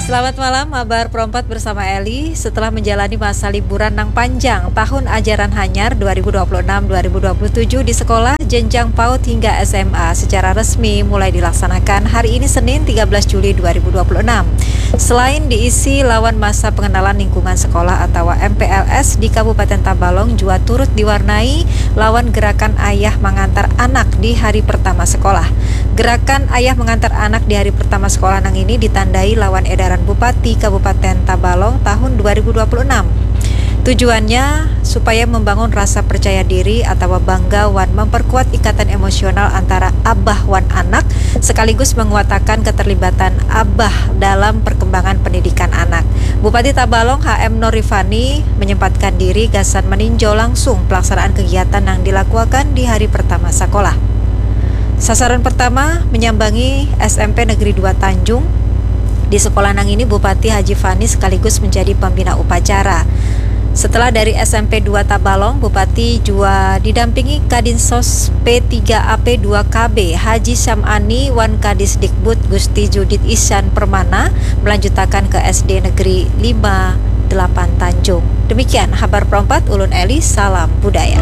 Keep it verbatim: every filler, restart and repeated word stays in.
Selamat malam, Habar Perompat bersama Eli. Setelah menjalani masa liburan nang panjang, tahun ajaran hanyar dua ribu dua puluh enam dua ribu dua puluh tujuh di sekolah jenjang paut hingga S M A secara resmi mulai dilaksanakan hari ini Senin tiga belas Juli dua ribu dua puluh enam. Selain diisi lawan masa pengenalan lingkungan sekolah atau M P L S di Kabupaten Tabalong jua turut diwarnai lawan gerakan ayah mengantar anak di hari pertama sekolah. Gerakan ayah mengantar anak di hari pertama sekolah nang ini ditandai lawan edaran Bupati Kabupaten Tabalong tahun dua ribu dua puluh enam. Tujuannya supaya membangun rasa percaya diri atau bangga wan memperkuat ikatan emosional antara abah wan anak, sekaligus menguatakan keterlibatan abah dalam perkembangan pendidikan anak. Bupati Tabalong H M Norifani menyempatkan diri gasan meninjau langsung pelaksanaan kegiatan yang dilakukan di hari pertama sekolah. Sasaran pertama menyambangi S M P Negeri dua Tanjung. Di sekolah nang ini Bupati Haji Fani sekaligus menjadi pembina upacara. Setelah dari S M P dua Tabalong, Bupati jua didampingi Kadinsos P tiga A P dua K B Haji Syamani wan Kadisdikbud Gusti Judit Ihsan Permana melanjutakan ke S D Negeri lima delapan Tanjung. Demikian Habar Perompat, ulun Eli, salam budaya.